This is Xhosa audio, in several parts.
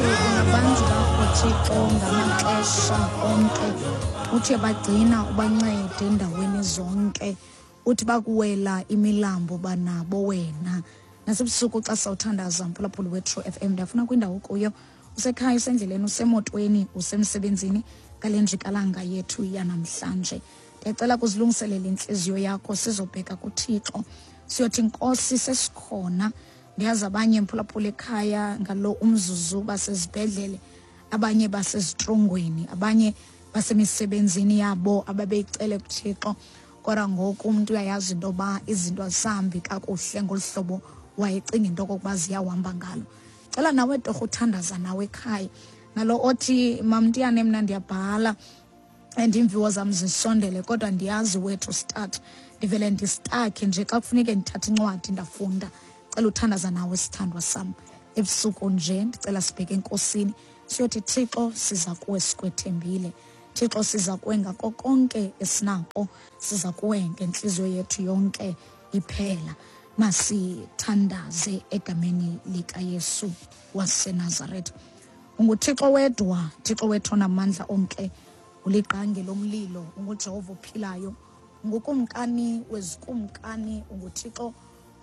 Uthi ungabantu bakho Thixo ngamaxesha onke, uthi bagcina ubancede endaweni zonke, uthi bakuwela imilambo banabo wena. Nasebusuku xa sawuthandaza mphulaphuli weTrue FM, ndiyafuna kwindawo kuyo, usekhaya, usendleleni, usemotweni, usemsebenzini, ngale njikalanga yethu yanamhlanje ndiyacela kuzilungiselela intliziyo yakho, sizobheka kuThixo, siyothi Nkosi sesikhona. Ndiyazi abanye mphulaphula ekhaya ngalo umzuzu basezibhedlele, abanye basezitrongweni, abanye basemisebenzini yabo ababeyicele kuThixo, kodwa ngoku umntu uyayazi into yoba izinto azisahambi kakuhle ngolu hlobo wayecinga into okokuba ziyawuhamba ngalo. Cela nawe torho uthandaza nawe ekhaya, nalo othi mamntiyane mna ndiyabhala and iimviwo zam zisondele, kodwa ndiyazi where to start, ndivele ndistakhe nje xa kufuneke ndithathe incwadi ndafunda. Cela uthandaza nawe sithandwa sam ebusuku nje, ndicela sibheke enkosini siyothi Thixo siza kuwe sikwethembile, Thixo siza kuwe ngako konke esinako, siza kuwe ngentliziyo yethu yonke iphela. Masithandaze egameni likaYesu waseNazaretha. UnguThixo wedwa, Thixo wethu onamandla onke, uliqange lomlilo, unguJehova ophilayo, ungukumkani wezikumkani, unguThixo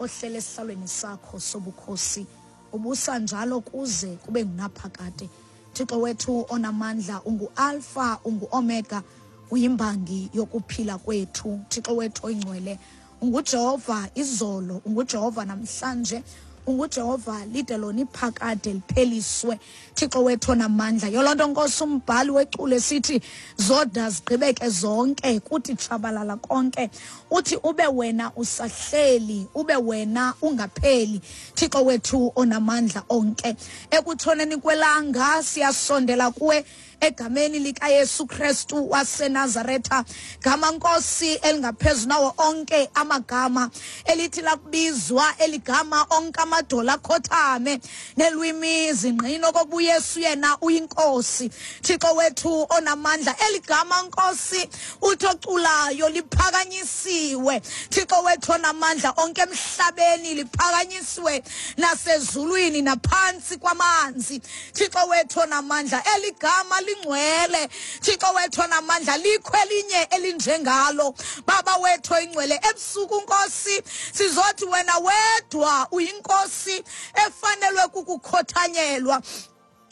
ohlele esihlalweni sakho sobukhosi, ubusa njalo kuze kube ngunaphakade. Thixo wethu onamandla, ungu-Alpha, ungu-Omega, uyimbangi yokuphila kwethu. Thixo wethu oyingcwele, unguJehova izolo, unguJehova namhlanje, unguJehova lide lona iphakade lipheliswe. Thixo wethu onamandla, yoloo nto Nkosi umbhali weculo esithi zoda zigqibeke zonke, kuthi tshabalala konke, uthi ube wena usahleli, ube wena ungapheli. Thixo wethu onamandla onke, ekutshoneni kwelanga siyasondela kuwe egameni likaYesu Kristu waseNazaretha, gama Nkosi elingaphezu nawo onke amagama, elithi lakubizwa eligama onke amadola akhothame, nelwimi zingqina okokuba uYesu yena uyinkosi. Thixo wethu onamandla, eligama Nkosi uthi oculayo liphakanyisiwe. Thixo wethu onamandla onke, emhlabeni liphakanyisiwe, nasezulwini, naphantsi kwamanzi. Thixo wethu onamandla, eligama lingcwele. Thixo wethu onamandla, likho elinye elinjengalo. Baba wethu oyingcwele, ebusuku Nkosi sizothi wena wedwa uyinkosi efanelwe kukukhothanyelwa,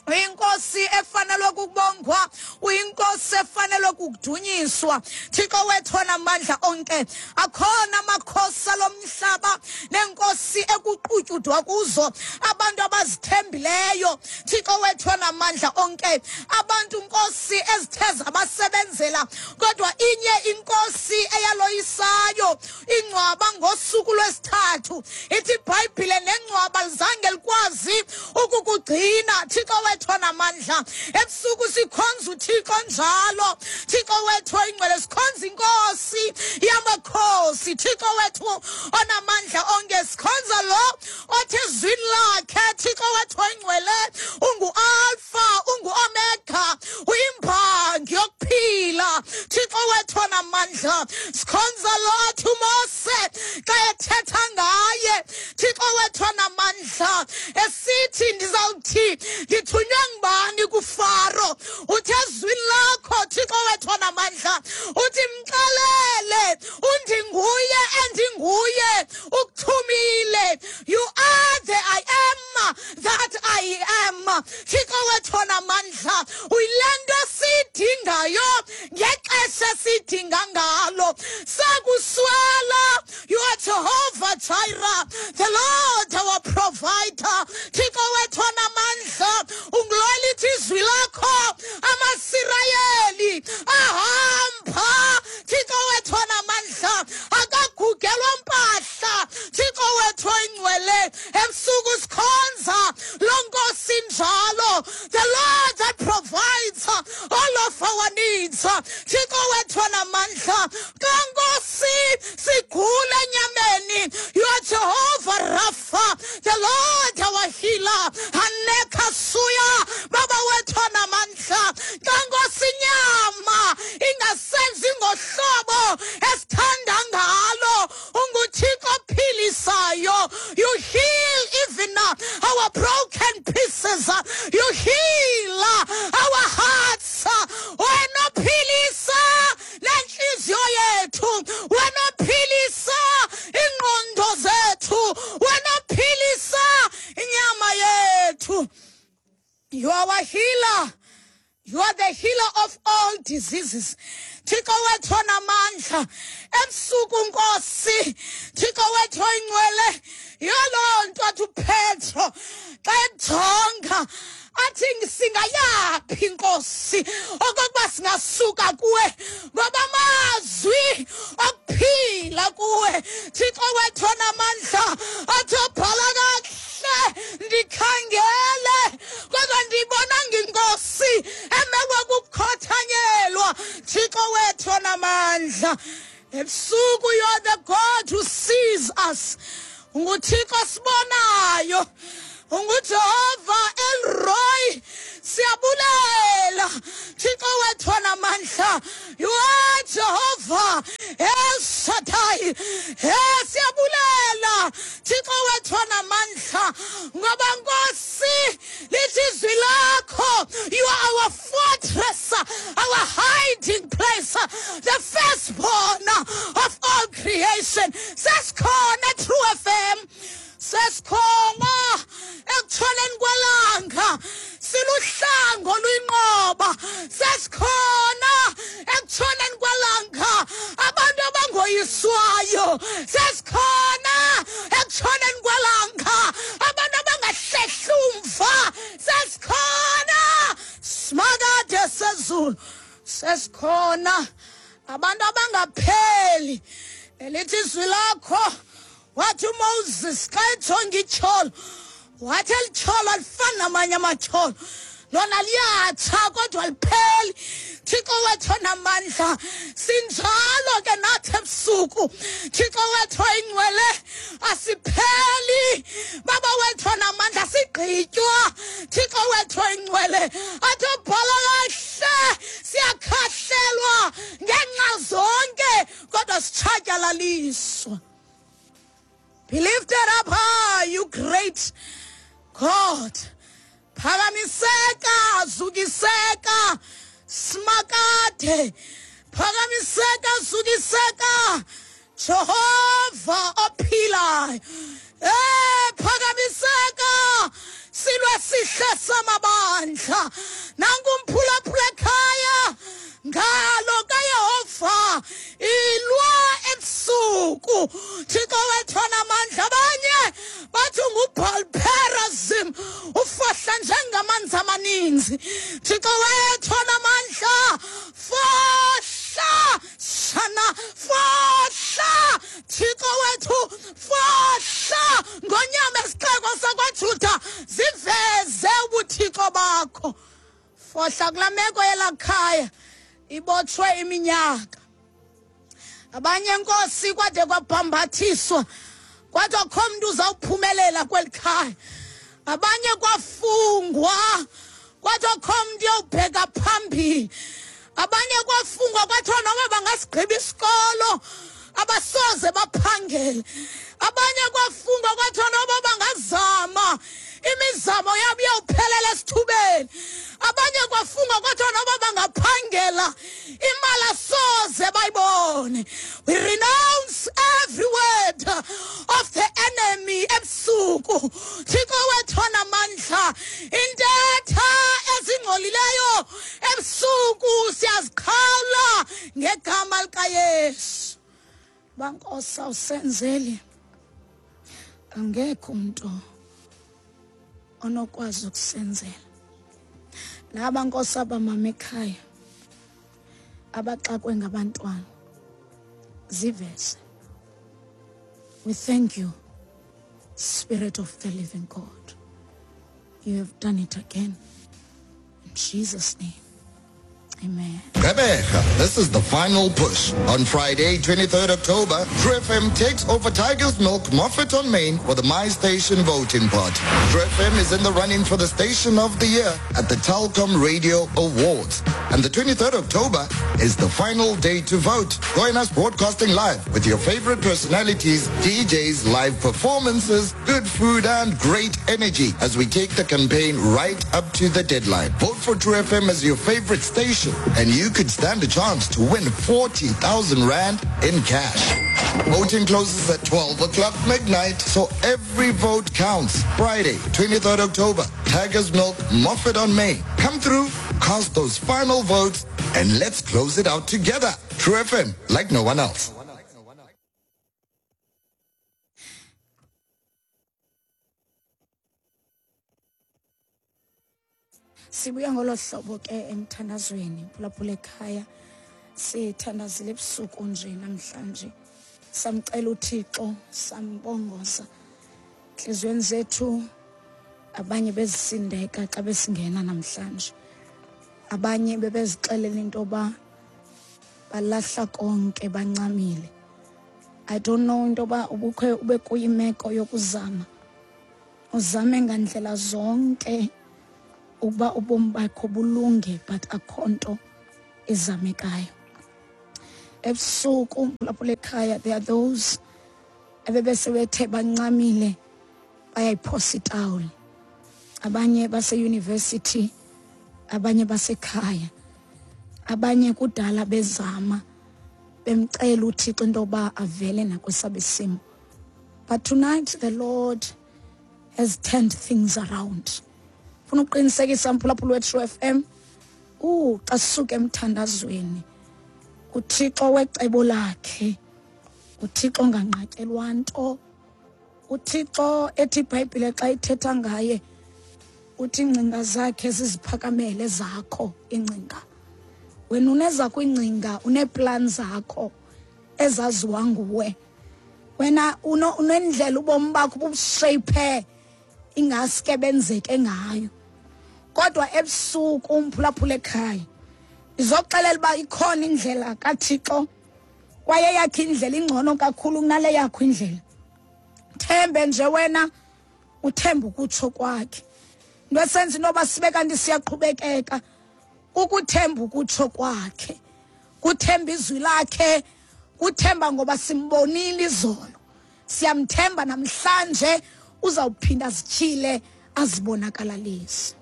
uyinkosi efanelwe kukubongwa, uyinkosi efanelwe kukudunyiswa. Thixo wethu onamandla onke, akhona amakhosi alomhlaba nenkosi ekuqutyudwa kuzo abantu abazithembileyo. Thixo wethu onamandla onke, abantu Nkosi ezithe zabasebenzela, kodwa inye inkosi eyaloyisayo ingcwaba ngosuku lwesithathu. Ithi iBhayibhile nengcwaba lizange likwazi ukukugcina. Thixo wethu onamandla, ebusuku sikhonza uThixo njalo. Thixo wethu oyingcwele, sikhonza inkosi yamakhosi. Thixo wethu onamandla onke, sikhonza lo othi ezwini lakhe, Thixo wethu oyingcwele, ungu-Alpha, ungu-Omega, uyimbangi yokuphila. Thixo wethu onamandla, sikhonza lo athi uMose xa ethetha ngaye, Thixo wethu onamandla, esithi ndizawuthi ndithunywe ngubani kuFaro? Uthi ezwini lakho, Thixo wethu onamandla, uthi mxelele undinguye endinguye ukuthumile. You are the I am that I am. Thixo wethu onamandla, uyile nto siyidingayo ngexesha esiyidinga ngalo. Sakuswela, you are Jehovah Jireh, the Lord our provider. Thixo wethu onamandla, ungulo lithi izwi lakho amaSirayeli ahamba. Thixo wethu onamandla, akagugelwa mpahla. Thixo wethu oyingcwele, ebusuku sikhonza lo nkosi njalo, the Lord that provides all of our needs. Thixo wethu onamandla, xa Nkosi sigula enyameni, you are Jehovah Rapha, the Lord our healer. Aneka suya, Baba wethu onamandla, xa Nkosi inyama ingasenzi ngohlobo esithanda ngalo, unguThixo ophilisayo. You heal even our broken pieces. You heal You are our healer. You are the healer of all diseases. Thixo wethu onamandla, ebusuku Nkosi, Thixo wethu oyingcwele, yiloo nto athi uPetro xa ejonga athi singayaphi Nkosi okokuba singasuka kuwe, ngoba amazwi okuphila kuwe. Thixo wethu onamandla, athi obhala kakuhle, ndikhangele kodwa ndiyibonanga inkosi emelwe kukukhothanyelwa. Thixo wethu onamandla, ebusuku you are the God who sees us. Unguthixo sibonayo, unguJehova El Roi. Siyabulela Thixo wethu onamandla. You are Jehovah El Shaddai. Siyabulela Thixo wethu onamandla, ngoba Nkosi lithi izwi lakho, you are our fortress, our hiding place, the firstborn of all creation. Sesikhona True FM, sesikhona ekutshoneni kwelanga, siluhlango oluyinqoba. Sesikhona ekutshoneni kwelanga, abantu abangoyiswayo. Sesikhona ekutshoneni kwelanga, abantu abangahlehli umva. Sesikhona simakade sezulu, sesikhona abantu abangapheli. Elithi izwi lakho, wathi uMoses xa ejonga ityholo, wathi elityholo alifani namanye amatyholo, lona liyatsha kodwa lipheli. Thixo wethu onamandla, sinjalo ke nathi ebusuku. Thixo wethu oyingcwele, asipheli. Baba wethu onamandla, sigqitywa. Thixo wethu oyingcwele, athi ubhala kahle, siyakhahlelwa ngenxa zonke kodwa sitshatyalaliswa. Be lifted up high, you great God. Phakamiseka, zukiseka, simakade. Phakamiseka, zukiseka, Jehova ophilayo. Phakamiseka, silwe sihle samabandla. Nanku umphulaphula ekhaya, ngalo kaYehova ilwa ebusuku. Thixo wethu onamandla, abanye bathi nguBaal-perazim, ufohla njengamanzi amaninzi. Thixo wethu onamandla, fohla shana, fohla Thixo wethu, fohla ngonyama esixeko sakwaJuda, ziveze ubuthixo bakho. Fohla kulaa meko yelakhaya ibotshwe iminyaka. Abanye Nkosi kwade kwabhambathiswa, kwade akho mntu uzawuphumelela kweli khaya. Abanye kwafungwa, kwade akho mntu uyawubheka phambili. Abanye kwafungwa kwathiwa noma bangasigqiba isikolo abasoze baphangele. Abanye kwafungwa kwathiwa noma bangazama imizamo yabo iyawuphelela esithubeni. Abanye kwafungwa kwathiwa noma bangaphangela imali asoze bayibone. We renounce every word of the enemy ebusuku. Thixo wethu onamandla, intetha ezingcolileyo ebusuku siyaziqhawula ngegama likaYesu. Bankosi awusenzeli, angekho umuntu onokwazi ukusenzela. Naba Nkosi abamama ekhaya abaxakwe ngabantwana, ziveze. We thank you, Spirit of the living God. You have done it again. In Jesus' name, amen. Gqeberha, this is the final push. On Friday, 23rd October, True FM takes over Tiger's Milk Moffat on Main for the My Station voting party. True FM is in the running for the Station of the Year at the Telkom Radio Awards. And the 23rd October is the final day to vote. Join us broadcasting live with your favorite personalities, DJs, live performances, good food and great energy as we take the campaign right up to the deadline. Vote for True FM as your favorite station and you could stand a chance to win 40,000 Rand in cash. Voting closes at 12 o'clock midnight, so every vote counts. Friday, 23rd October, Tigers Milk, Moffat on Main. Come through, cast those final votes, and let's close it out together. True FM, like no one else. Sibuya ngolo hlobo ke emthandazweni, phulaphula ekhaya. Sithandazile ebusuku nje namhlanje, samcela uThixo, sambongoza enhliziyweni zethu. Abanye bezisindeka xa besingena namhlanje, abanye bebezixelela into yoba balahla konke, bancamile. I don't know into yoba ubukhe ube kuyimeko yokuzama, uzame ngandlela zonke ukuba ubomi bakho bulunge, but akho nto izamekayo. Ebusuku lapho lekhaya, there are those ebebesebethe bancamile, bayayiphosa itawuli. Abanye base-university, abanye basekhaya, abanye kudala bezama, bemcela uThixo into yoba avele nakwesabe isimo. But tonight the Lord has turned things around. Funa ukuqinisekisa mphulaphula we-True FM, xa sisuka emthandazweni, uThixo wecebo lakhe, uThixo onganqatyelwa nto, uThixo ethi iBhayibhile xa ithetha ngaye uthi iingcinga zakhe ziziphakamele zakho iingcinga. Wena uneza kwingcinga, uneeplan zakho ezaziwa nguwe. Wena unendlela ubomi bakho bubusheyiphe ingaske benzeke ngayo. Kodwa ebusuku umphulaphula ekhaya, izoxelela uba ikhona indlela kaThixo, kwaye yakhe indlela ingcono kakhulu kunale yakho indlela. Thembe nje wena, uthembe ukutsho kwakhe. Into esenza into yoba sibe kanti siyaqhubekeka kukuthemba ukutsho kwakhe, kuthemba izwi lakhe, kuthemba ngoba simbonile izolo, siyamthemba namhlanje uzawuphinda azityhile, azibonakalalise.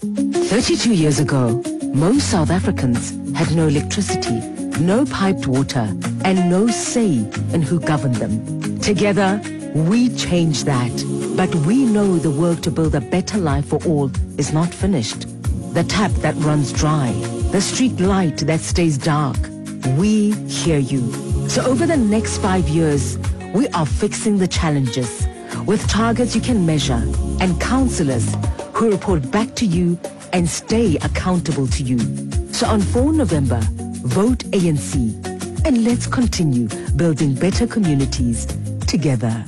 32 years ago, most South Africans had no electricity, no piped water, and no say in who governed them. Together, we changed that. But we know the work to build a better life for all is not finished. The tap that runs dry, the street light that stays dark. We hear you. So over the next 5 years, we are fixing the challenges with targets you can measure and councillors who report back to you and stay accountable to you. So on 4 November, vote ANC and let's continue building better communities together.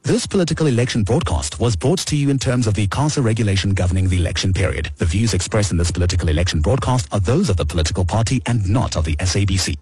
This political election broadcast was brought to you in terms of the ICASA regulation governing the election period. The views expressed in this political election broadcast are those of the political party and not of the SABC.